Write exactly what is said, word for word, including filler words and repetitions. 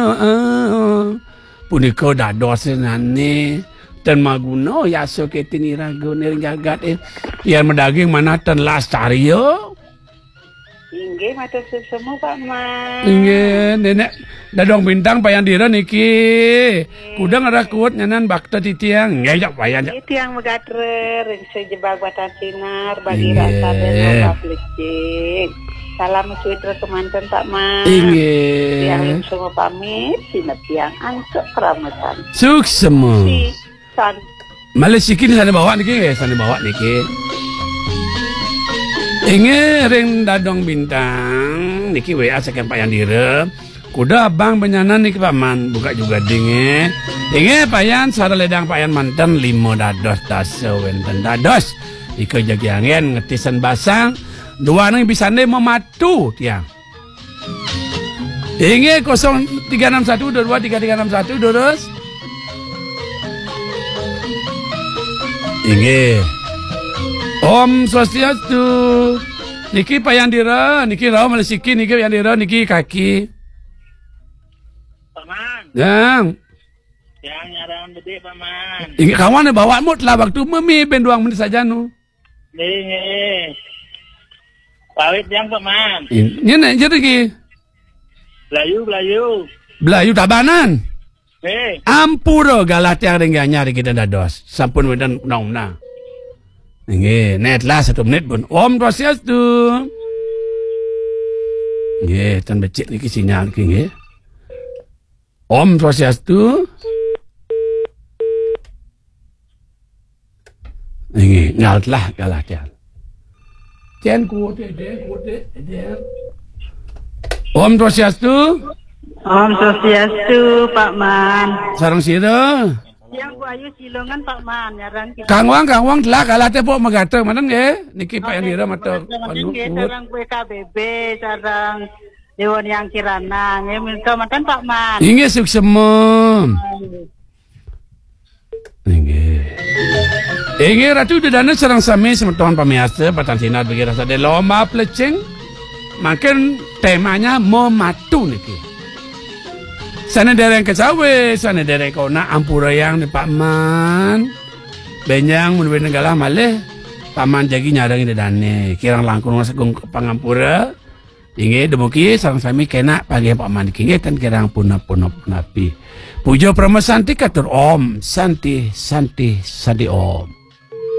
Heeh. Punika dados nane ten maguna yasa ketin iraga ring jagat, eh. Yen madaging manah ten lastarya. Inggih, matur suksma, Pak Man. Inggih, Nenek Dadong Bintang Payan Dira niki. Kuda ngerekut nyanan bakta titiang. Nggih, ya, Payan, ya. Inggih, tiang magatra ring sajebag Batan Sinar, bagi Inggih. Rasa dan loba pelicing. Salam suitra kemanten, Pak Man. Inggih. Tiang suksma pamit, sineb tiang antuk keramatan. Suksma. Si San. Malih siki sane bawa niki, nggih, sane bawa niki. Inggih ring Dadong Bintang, niki W A saking Pak Yandira. Kuda abang benyanan niki Paman, buka juga ding, nggih. Inggih Payan, sara ledang Payan manten lima dados dasa wenten dados. Ika jagi angin ngetisan basang, dua nang bisane mematu tiang. Inggih, kosong tiga enam satu dua dua tiga tiga enam satu, durus. Inggih. Om Swastiastu. Niki Pak Yandira, niki rauh malih siki, niki Pak Yandira, niki kaki. Paman. Yang. Yang nyarang bedik, Paman. Inggih, kawan bawa mut lah waktu memi ben duang menit saja nu. Nggih, nggih. Pawit tiang, Pak Man. In-, nyene, nyene iki. Blayu, blayu. Blayu Tabanan. Nggih. Ampura galah tiang ring Gianyar iki dados. Sampun wenten nong menah. Nggih, net lah satu menit pun. Om Swastiastu. Nggih, tan becik niki sinyal iki nggih. Om Swastiastu. Nggih, ngal telah galah tian. Tian kuat, tian kuat, tian. Om Swastiastu. Om Swastiastu, Pak Man. Sareng sira. Yang Buayu Silongan, Pak Man, nyarang kita. Kang Wang, Kang Wang telah galah tepuk megata manten nggih. Niki Pak Yandira mata. Oke, anu, nggih, kuat. Sareng K B B, sareng Dewan Yang Kirana, nggih, minta manten Pak Man. Inggih, suksema. Inggih. Inggih, Ratu Ida Dane sareng sami semeton pamiarsa, Batan Sinar bagi rasa de lomba plecing. Mangkin temanya mematu niki. Sane dereng kecawe, sane dereng kona ampurayang ni Pak Man. Benjang mun wene galah malih, Pak Man jagi nyareng Ida Dane. Kirang langkung sagung pangampura. Inggih, dumugi sareng sami kenak panggih Pak Man niki. Inggih, tan kirang punap-punap punapi. Puja Parama Santi katur Om Santi, Santi, Santi Om.